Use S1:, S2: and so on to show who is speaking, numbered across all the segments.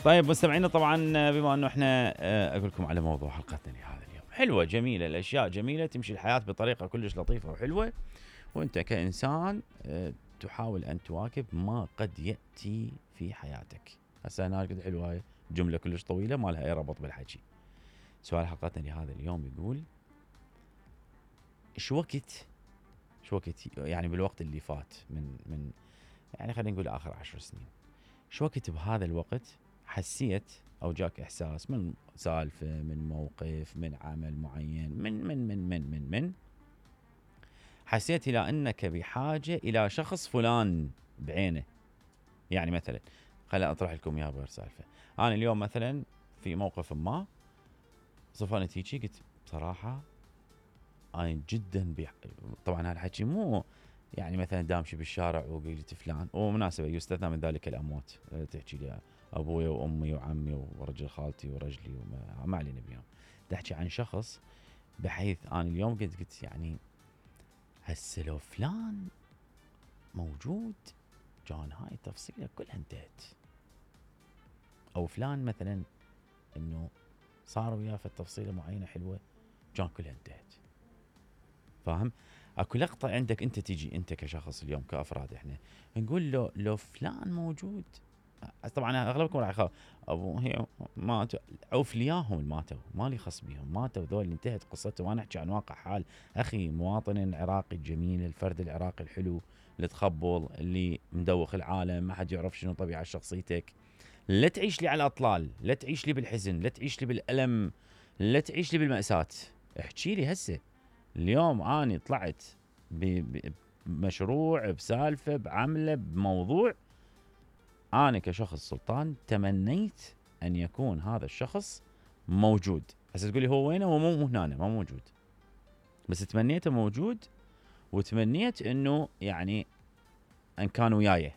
S1: طيب مستمعينا، طبعا بما انه احنا اقول لكم على موضوع حلقتنا لهذا اليوم، حلوه جميله، الاشياء جميله، تمشي الحياه بطريقه كلش لطيفه وحلوه، وانت كانسان تحاول ان تواكب ما قد ياتي في حياتك. هسه هنا قد حلوه، هاي جمله كلش طويله ما لها اي ربط بالحكي. سؤال حلقتنا لهذا اليوم يقول: شو وقت يعني بالوقت اللي فات من يعني خلينا نقول اخر 10 سنين، شو وقت بهذا الوقت حسيت او جاك احساس من سالفه، من موقف، من عمل معين، من حسيت الى انك بحاجه الى شخص فلان بعينه؟ يعني مثلا خليني اطرح لكم اياها بغير سالفه. انا اليوم مثلا في موقف ما صفنت هيجي، قلت بصراحه انا جدا طبعا هذا الحكي مو يعني مثلا دامشي بالشارع وقلت فلان، ومناسبه يستثنى من ذلك الاموات، تحكي لي ابوي وامي وعمي ورجل خالتي ورجلي وما علينا بيهم، تحكي عن شخص بحيث انا اليوم قلت يعني هسه لو فلان موجود كان هاي التفصيله كلها انتهت، او فلان مثلا انه صار وياه في التفصيله معينه حلوه كان كلها انتهت. فاهم؟ اكو لقطه عندك انت تيجي انت كشخص اليوم كافراد احنا نقول لو فلان موجود. طبعا اغلبكم راح يخاف ابو هي ماتوا، عوف لياهم ماتوا، مالي خص بيهم، ماتوا ذول انتهت قصتهم. وانا احكي عن واقع حال اخي مواطن العراقي الجميل، الفرد العراقي الحلو اللي تخبل، اللي مدوخ العالم، ما حد يعرف شنو طبيعه شخصيتك. لا تعيش لي على الاطلال، لا تعيش لي بالحزن، لا تعيش لي بالالم، لا تعيش لي بالمأساة. احكي لي هسه اليوم اني طلعت بمشروع، بسالفه، بعمله، بموضوع، انا كشخص سلطان تمنيت ان يكون هذا الشخص موجود. هسه تقولي هو وينه؟ هو مو هنا، ما موجود، بس تمنيته موجود، وتمنيت انه يعني ان كان وياي.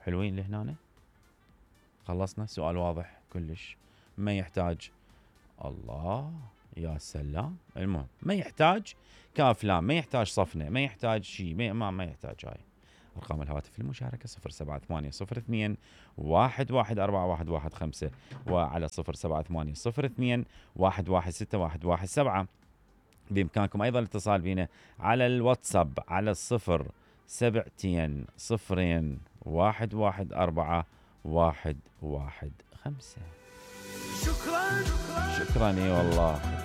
S1: حلوين لهنا؟ خلصنا. سؤال واضح كلش، ما يحتاج الله يا سلام. المهم ما يحتاج كافلام، ما يحتاج صفنه، ما يحتاج شيء، ما يحتاج. هاي ارقام الهواتف للمشاركه 07802 114115 وعلى 07802 116117. بامكانكم ايضا الاتصال بنا على الواتساب على 07202 114 115. شكرا اي والله.